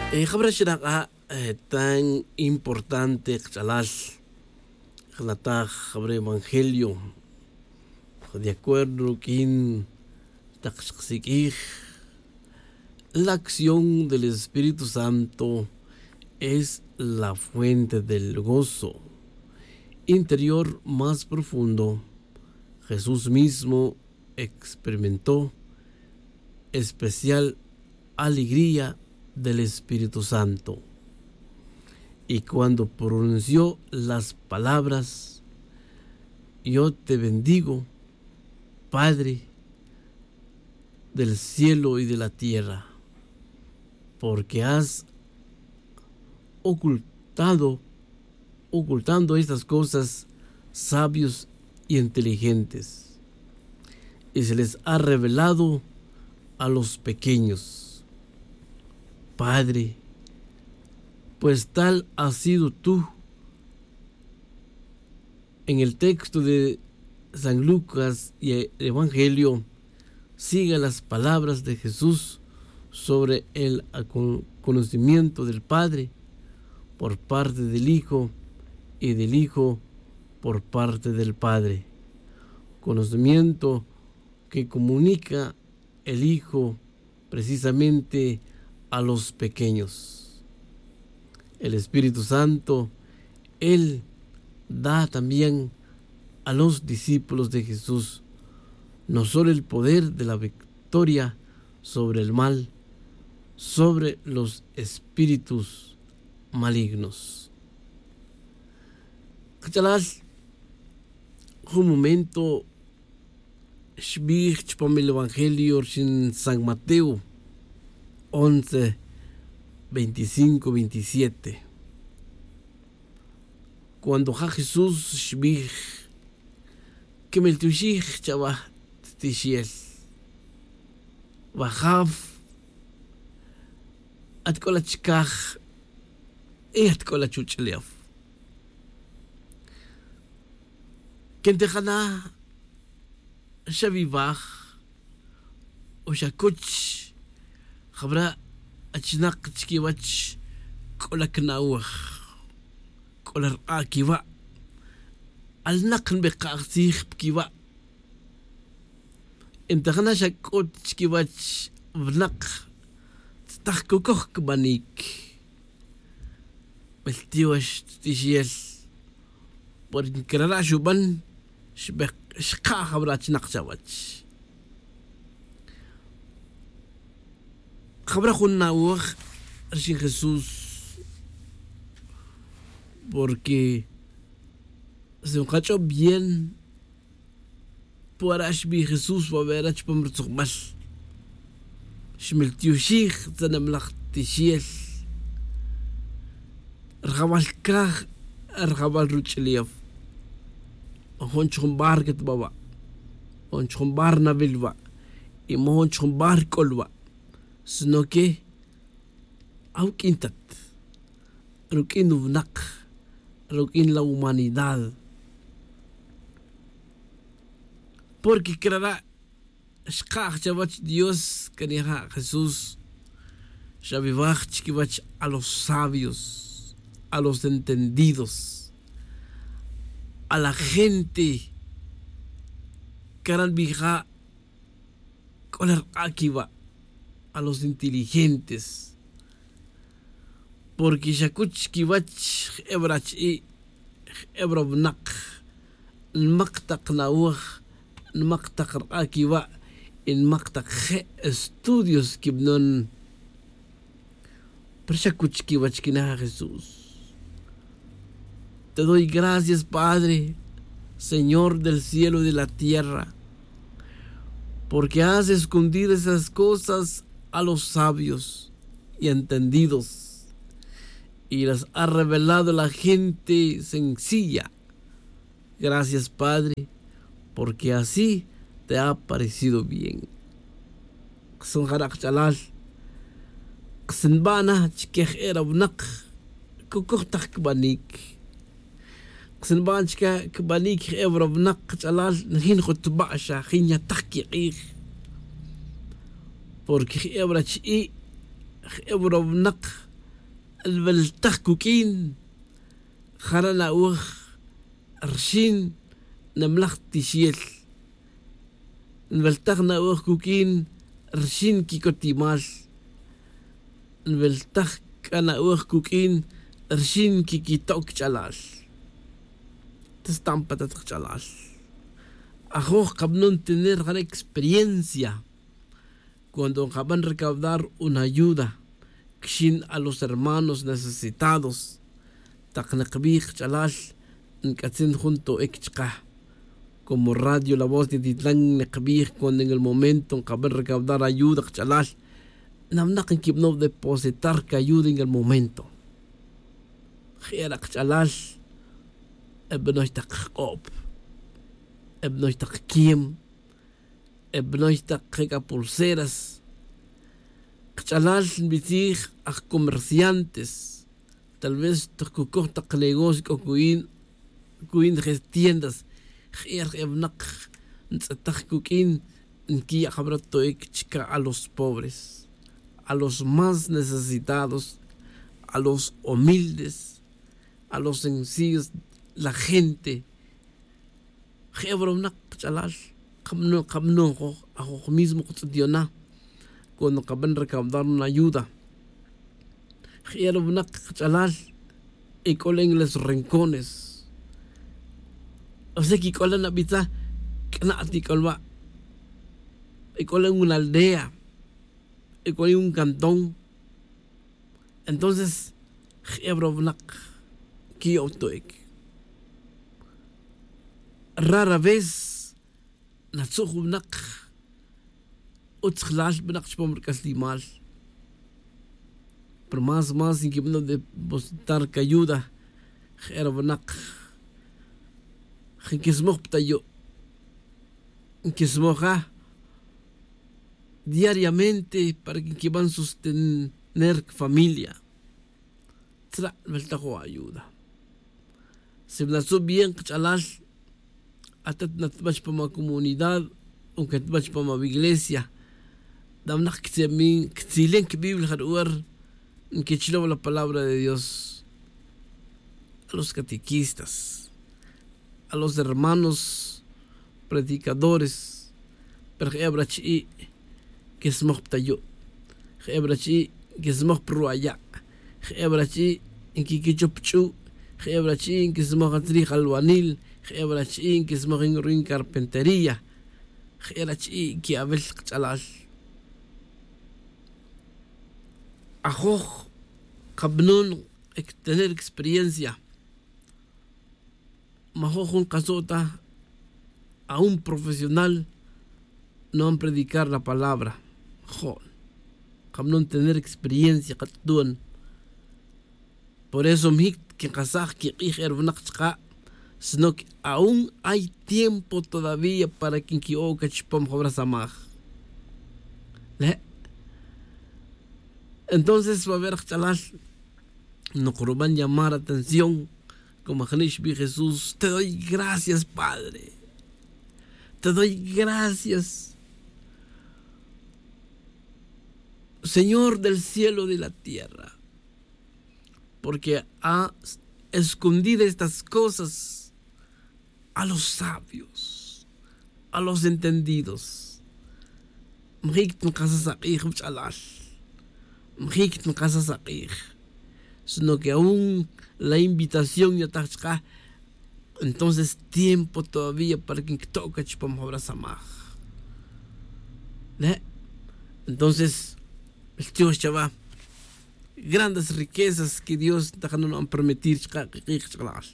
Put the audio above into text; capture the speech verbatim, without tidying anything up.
Jabra xinak'a' tan importante kach'alal jnataj jabra evangelio de acuerdo ruk'in tak xksik'ij. La acción del espíritu santo es la fuente del gozo interior más profundo. Jesús mismo experimentó especial alegría del Espíritu Santo. Y cuando pronunció las palabras: "Yo te bendigo, Padre del cielo y de la tierra, porque has ocultado, ocultando estas cosas sabios y inteligentes, y se les ha revelado a los pequeños. Padre, pues tal has sido tú". En el texto de San Lucas y el Evangelio, siga las palabras de Jesús sobre el acon-, conocimiento del Padre por parte del Hijo y del Hijo por parte del Padre. Conocimiento que comunica el Hijo precisamente a los pequeños. El Espíritu Santo, Él da también a los discípulos de Jesús no solo el poder de la victoria sobre el mal, sobre los espíritus malignos. Kach'alal, jun momento xbij chupam el evangelio rixin San Mateo once, veinticinco, veintisiete. Cuando ja Jesús xbij: "Quimiltioxij chawa ttixel, wajaf, at c'o la chicaj y at c'o la chuch'ulef. Quintijana xawiwaj o xacuch jabra achinak chiquiwech c'o la cna'oj, c'o la rk'a' quiwa', alnak nbeka'j tzij pa quiwa'. Intijana xa c'o chiquiwech winak tz'etaj cocoj cbanic. Miltiox ttixel, porque crara' xuban, xka' jabra achinak chawech". Jabra jun na'oj rixin Jesús, porque si nkach'ob bien, pwara' xbij Jesús wawera chupam rutzukbal: "Xmiltioxij tzaneblaj tixel, rajawal caj, rajawal ruch'ulef. Mojon chujun bar cat ba wa', mojon chujun bar nawil wa', y mojon chujun bar c'ol wa', sino que awuq'uin tat, ruq'uin winak, ruq'uin la humanidad". Porque crara' xka'j chawech Dios, can ja Jesús xawiwaj chiquiwech a los sabios, a los entendidos, a la gente, cara' nbija' c'o la rk'a' quiwa', a los inteligentes. Porque xacuch chiquiwech jebra achi'i', jebra winak, nmak tak na'oj, nmak tak rk'a' quiwa', y nmak tak je' estudios quibanon. Pero xacuch chiquiwech quinaj Jesús. Te doy gracias, Padre, Señor del cielo y de la tierra, porque has escondido esas cosas a los sabios y entendidos, y las ha revelado a la gente sencilla. Gracias, Padre, porque así te ha parecido bien. Ksun jara' kach'alal, ksinba' na chique je' ra winak cocoj tak cbanic. Ksinba' na chique cbanic je' ra winak kach'alal, najin jutba' xa jin ya tak quik'ij. Porque je' ra chi'i', je' ra winak Nweltaj cuq'uin jara' nawaj rxin nimlaj tixel. Nweltaj nawaj cuq'uin rxin quicotimal. Nweltaj c'a nawaj cuq'uin rxin quiquito' quich'alal. Tastan pa tat kach'alal. Ajoj kabanon tener jara' experiencia cuando nkaban recaudar una ayuda quixin a los hermanos necesitados. Tak nikbij kach'alal, nc'atzin jun to'ic chka. Como radio la voz de titlan nikbij cuando en el momento nkaban recaudar ayuda kach'alal, nawnak nquibanow depositar cayuda en el momento. Je'era' kach'alal, ebanoy tak jk'ob, ebanoy tak quiem, ebanoy tak jec'a pulseras. Kach'alal nbitzij aj comerciantes, tal vez tak cucoj tak negocio c'o cuyin cuyin je tiendas. Je'er je winak ntz'etaj cuq'uin nquiya' jabara' to'ic chca a los pobres, a los más necesitados, a los humildes, a los sencillos, la gente. Je'er winak kach'alal, kabanon kabanon ajoj mismo katz'et yona. Cuando kaban recaudar una ayuda, je'er winak kach'alal, ec'ola en los rincones. O sea que ec'ola nabitza, c'ana' ti ec'ola wa', ec'ola en una aldea, ec'ola en un cantón. Entonces je'er winak quiyo'to'ic. Rara vez natzuj winak utzjlal winak chupam ric'aslimal. Pero más más nquibanow depositar cayuda. Je'er winak nquismoj pa tayu', nquismoja diariamente para que nquiban sostener cafamilia. Tzra' nweltaj o ayuda. Si natzu' bien kach'alal, atat natbach pa ma comunidad o catbach pa ma wiglesia, dawnak ctzilen cbiblia jaru'er nquichlow la palabra de dios. A los catequistas, a los hermanos predicadores. Pero je'er wara' chi'i' nquismoj pa tayu', je'er wara' chi'i' nquismoj pa ruwa' ya', je'er wara' chi'i' nquiquichup ch'u', je'er wara' chi'i' nquismoj atzrij alwanil, je'er wara' chi'i' nquismoj en ruin carpintería. Je'er wara' chi'i' qui'awel kach'alal. Ajoj kabanon tener experiencia. Majoj jun kaso' ta a un profesional no van predicar la palabra. Jo' kabanon tener experiencia katz'et tuan. Por eso mijic quinkasaj quik'ij e ruwinak chka', sino que aún hay tiempo todavía para que nqui'o' ca chupam jawra samaj. Le' entonces va a ver kach'alal, nokruban llamar atención. Como ajni' xbij jesús, te doy gracias padre, te doy gracias señor del cielo y de la tierra, porque ha escondido estas cosas a los sabios, a los entendidos. Majic ta nkasas ak'ij wach'alal, majic ta nkasas ak'ij. Sino que aún la invitación yataj chka'. Entonces tiempo todavía para que nquito' ca chupam jawra samaj. Le' entonces ltiox chawa grandes riquezas que dios ntajana nu'an permitir chka' kik'ij ch'alal.